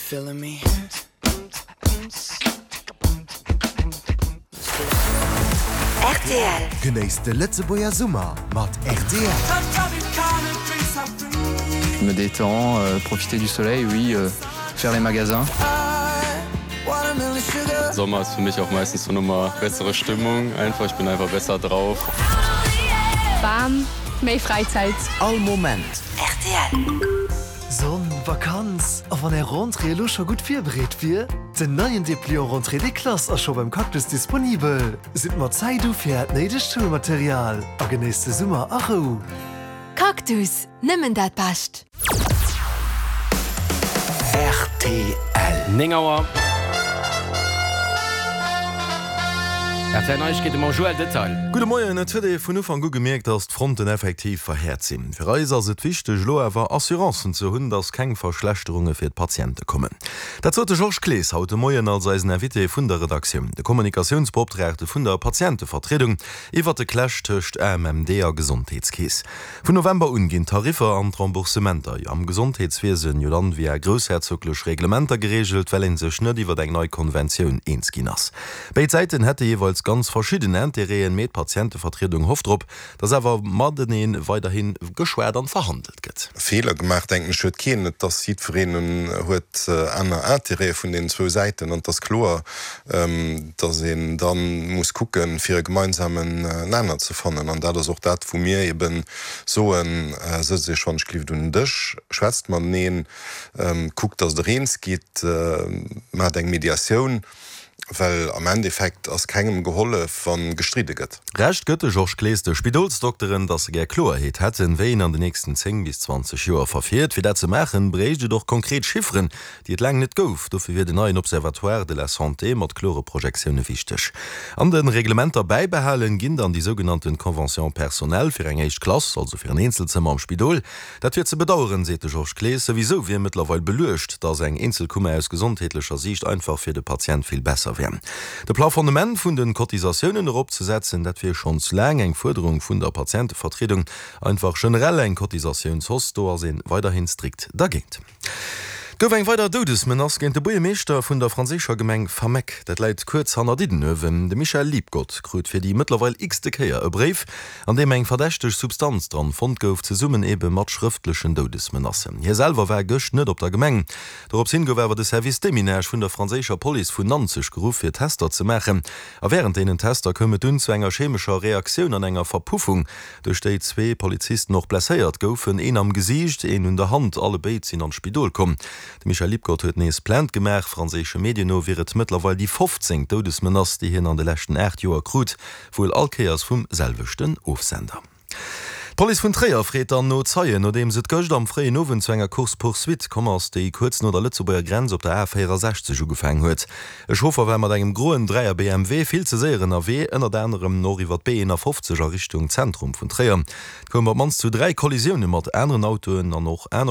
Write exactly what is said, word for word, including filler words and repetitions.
Feeling me? Rtl. Genéisst de Lëtzebuerger Summer mat rtl. Je me détends, euh, profiter du soleil, oui, euh, faire les magasins. Sommer ist für mich auch meistens so nochmal bessere Stimmung einfach ich bin einfach besser drauf. Bam, méi Fräizäit. All Moment. Rtl. Sonn, Vakanz, a wann Är Rentrée elo scho gutt virbereet wier? Den neien Depliant Rentrée des classes ass scho beim Cactus disponibel. Sidd mat Zäit do fir Äert néidegt Schoulmaterial a genéisst de Summer a Rou. Cactus, nëmmen dat Bescht! Rtl. Néng Auer. Rtl Neiegkeete mam Joël Detail. Gudde Moien, Et huet ee vun Ufank u gemierkt, datt d'Fronten effektiv verhäert sinn. Fir eis ass et wichteg, elo awer Assurancen ze hunn, datt keng Verschlechterunge fir d'Patiente kommen. Dat sot de Georges Clees haut de Moien als eisen Invité vun der Redaktioun, de Kommunikatiounsbeoptraagte vun der Patientevertriedung, iwwert de Clash tëscht A M M D a Gesondheetskeess. Vun November un ginn d'Tariffer an d'Remboursementer am Gesondheetswiesen jo dann via groussherzoglech Reglementer gereegelt, well ee sech net iwwert eng nei Konventioun eens ginn ass. Béid Säiten hätte jeeweils ganz verschidden Interêten, mee d'Patientevertriedung hofft drop, datt awer matenee weiderhi geschwat an verhandelt gëtt. Feeler gemaach, denken ech, huet keen. Et ass jiddwereen huet aner Interêtë vun deenen zwou Säiten an et ass kloer, datt een da muss kucken, fir e gemeinsamen Nenner ze fannen. An dat ass och dat, wou mir eben soen, Sëtzt Iech wann ech gelift un den Dësch, schwätzt mateneen, kuckt, datt Der eens gitt, maacht eng Mediatioun. Well am Endeffekt ass kengem gehollef, wa gestridde gëtt. Recht gëtt de Georges Clees de Spidolsdokteren, datt se gär Kloerheet hätten, wéi een an de nächsten zéng bis zwanzeg Joer verfiert. Fir dat ze maachen, bréicht et och konkret Chifferen, déi et laang net gouf. Dofir wier den neien Observatoire de la santé mat klore Projektioune wichteg. An de Reglementer bäibehalen ginn dann déi sougenannten Conventions personnelles fir eng éischt Klass, also fir en Eenzelzëmmer am Spidol. Dat wier ze bedaueren, seet de Georges Clees. Souwisou wier mëttlerweil beluecht, datt eng Eenzelkummer aus gesondheetlecher Siicht einfach fir de Patient vill besser wier. De Plafonnement vun de Cotisatiounen eropzesetzen, dat wier schonns laang eng Fuerderung vun der Patientevertriedung. Einfach generell eng Cotisatiounshausse, do ass ee weiderhi strikt dergéint. Et gouf eng weider Doudesmenace géint de Buergermeeschter vun der franséischer Gemeng Fameck. Dat läit kuerz hanner Diddenuewen. De Michel Liebgott krut fir déi mëttlerweil x-te Kéier e Bréif, an deem eng verdächteg Substanz dran fonnt gouf, zesummen ebe mat schrëftlechen Doudesmenacen. Hie selwer war gëscht net op der Gemeng. Dorops hin gouf awer de Service Déminage vun der franséischer Police vun Nanzeg geruff, fir Tester ze maachen. A wärend deenen Tester koum et dunn zu enger chemescher Reaktioun an enger Verpuffung, duerch déi zwee Polizisten och blesséiert goufen, een am Gesiicht, een un der Hand. Allebéid sinn an d'Spidol komm. De Michel Liebgott huet nees Plainte gemaach. Franséische Medien no wier et mëttlerweil déi fofzéngt Doudesmenace, déi hien an de leschten aacht Joer krut, wuel all Kéiers vum selwechten Ofsender. D'Police vun Tréier freet dann no Zeien, nodeems et gëscht am fréien Owend zu enger Course-poursuite komm ass, déi kuerz no der Lëtzebuerger Grenz op der A véierasechzeg ugefaangen huet. E Chauffer war mat engem groen Dräier B M W vill ze séier ënnerwee, ënnert anerem och iwwer d'B eenafofzeg a Richtung Zentrum vun Tréier. Et koum op d'mannst zu dräi Kollisioune mat aneren Autoen an och aner